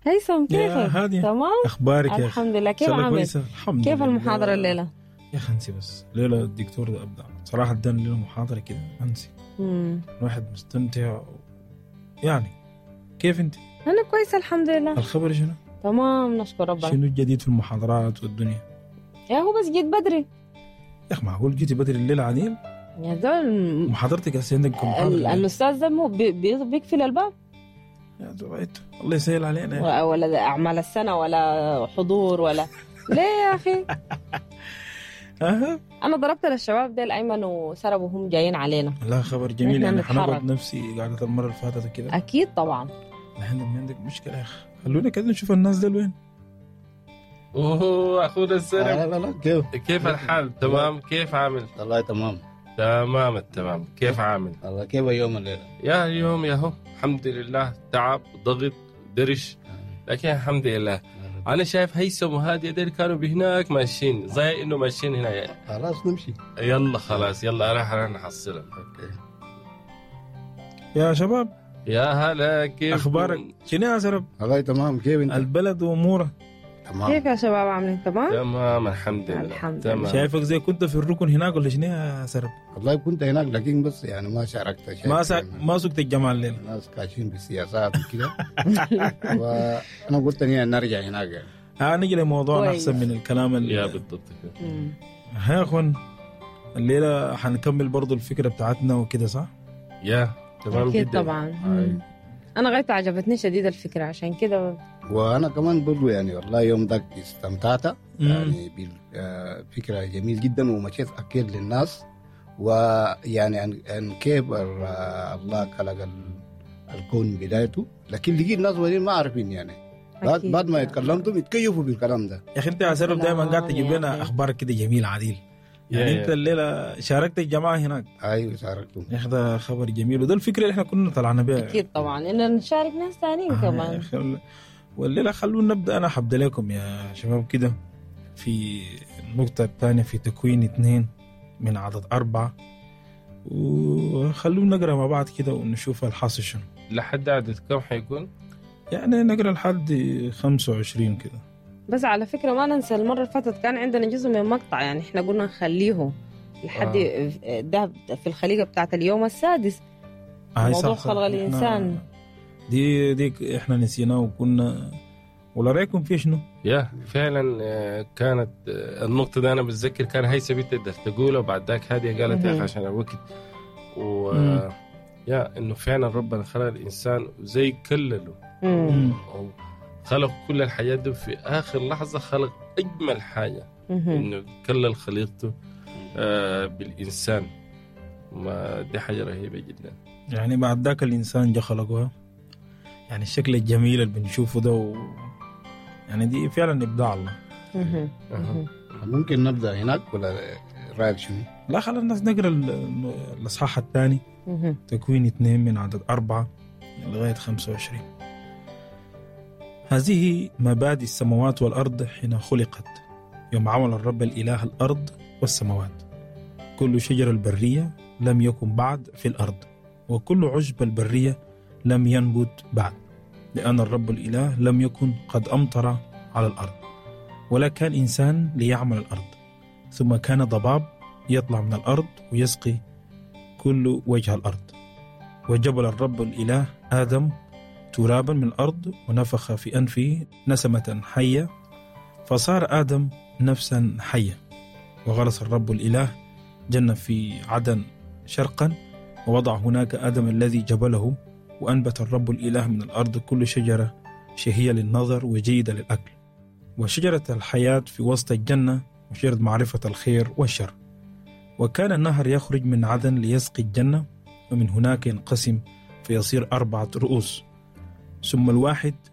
هيثم، يا كيفك؟ هادية. تمام؟ اخبارك يا اخي؟ الحمد لله. إن كيف شاء الله عامل؟ كويسه، الحمد كيف لله. المحاضرة الليلة؟ يا اخي انسي، بس ليلة الدكتور ده ابدع صراحه، ادانا لنا محاضرة كده انسي. الواحد مستمتع يعني. كيف انت؟ أنا كويسة الحمد لله. الخبر شنو؟ تمام، نشكر ربنا. شنو الجديد في المحاضرات والدنيا؟ يا هو بس جيت بدري. يا اخي معقول جيتي بدري الليلة عديل؟ يا زول. محاضرتك هسه عندك كم محاضرة الليلة؟ الأستاذ ده مو بيقفل الباب. يا زويت. الله يسهل علينا يا أخي. ولا أعمال السنة ولا حضور ولا ليه يا أخي؟ أها. أنا ضربت للشباب ديل أيمن وسرب وهم جايين علينا. لا، خبر جميل. نحن يعني نتحرك. حنقعد نفسي قعدة المرة اللي فاتت كده. أكيد طبعا. نحن ما عندك مشكلة يا اخي، خلونا كده نشوف الناس دول وين. اوه، اخونا السلام. لا لا لا، كيف؟ كيف الحال؟ تمام، كيف عامل؟ والله تمام. تمام التمام، كيف عامل؟ والله كيف يوم الليلة؟ يا اليوم يا هو الحمد لله، تعب، ضغط، درش، لكن الحمد لله. انا شايف هيثم وهادي ديل كانوا بهناك ماشيين، زي انه ماشيين هنا يعني. خلاص نمشي. يلا خلاص، يلا راح نحصلهم. okay. يا شباب. يا هلا، كيف؟ اخبارك شنو يا سرب؟ والله تمام، كيف انت؟ البلد واموره. تمام. كيف يا شباب، عاملين تمام؟ تمام الحمد لله. الحمد تمام. شايفك زي كنت في الركن هناك ولا شنو يا سرب؟ والله كنت هناك، لكن بس يعني ما شاركت شيء. ما سقت الجماعة الليلة. الناس كاشين بالسياسات وكده، وانا قلت اني نرجع هناك يعني. ها نجي لموضوعنا. كويس. احسن من الكلام يا بالضبط كده. ها يا اخوان، الليلة حنكمل برضو الفكرة بتاعتنا وكده، صح؟ يا تمام أكيد جدا. طبعا. هاي. أنا غايته عجبتني شديد الفكرة، عشان كده. وانا كمان برضو يعني والله يوم ذاك استمتعت يعني بالفكره، جميل جدا، ومشيت اكيد للناس ويعني عن كيف الله خلق الكون بدايته، لكن لقيت ناس ولين ما عارفين يعني بعد بعد ما يتكلمتم يتكيفوا بالكلام ده. يا اخي انت يا سرب دائما قاعد تجيب يا لنا أخي. اخبار كده جميلة عديل يعني. يا انت الليلة شاركت الجماعة هناك. ايوه، شاركتم. يا اخي ده خبر جميل، وده الفكرة اللي احنا كنا طلعنا بها. أكيد طبعا، إن نشارك ناس ثانيين آه يا كمان. أخي، والليلة خلونا نبدا. انا حبدا لكم يا شباب كده في النقطة الثانية في تكوين 2 من عدد 4، وخلونا نقرا مع بعض كده ونشوف الحاصل شنو. لحد عدد كم حيكون؟ يعني نقرا لحد 25 كده. بس على فكرة ما ننسى، المرة اللي فاتت كان عندنا جزء من مقطع، يعني احنا قلنا نخليه لحد ده في الخليقة بتاعت اليوم السادس. هاي موضوع صح. خلق الإنسان. دي احنا نسيناه وكنا، ولا رايكم في شنو؟ يا فعلا، كانت النقطة دي أنا بتذكر كان هيثم بتقدر تقولها، وبعد ذاك هادية قالت يا أخي عشان الوقت و يا إنه فعلا ربنا خلق الإنسان وزي كلله أو خلق كل الحاجات دي، في آخر لحظة خلق أجمل حاجة إنه كلل خليقته بالإنسان، ما دي حاجة رهيبة جدا. يعني بعد ذاك الانسان جا خلقوها، يعني الشكل الجميل اللي بنشوفه ده يعني دي فعلا ابداع الله. أها. ممكن نبدا هناك ولا رايك شنو؟ لا، خلينا الناس نقرا الاصحاح الثاني. تكوين 2 من عدد 4 لغاية 25. هذه مبادئ السماوات والأرض حين خلقت، يوم عمل الرب الإله الأرض والسماوات. كل شجر البرية لم يكن بعد في الأرض، وكل عشب البرية لم ينبت بعد، لأن الرب الإله لم يكن قد أمطر على الأرض، ولا كان إنسان ليعمل الأرض. ثم كان ضباب يطلع من الأرض ويسقي كل وجه الأرض. وجبل الرب الإله آدم ترابا من الأرض، ونفخ في أنفه نسمة حية، فصار آدم نفسا حية. وغرس الرب الإله جنة في عدن شرقا، ووضع هناك آدم الذي جبله. وأنبت الرب الإله من الأرض كل شجرة شهية للنظر وجيدة للأكل، وشجرة الحياة في وسط الجنة، وشجرة معرفة الخير والشر. وكان النهر يخرج من عدن ليسقي الجنة، ومن هناك ينقسم فيصير 4 رؤوس. ثم الواحد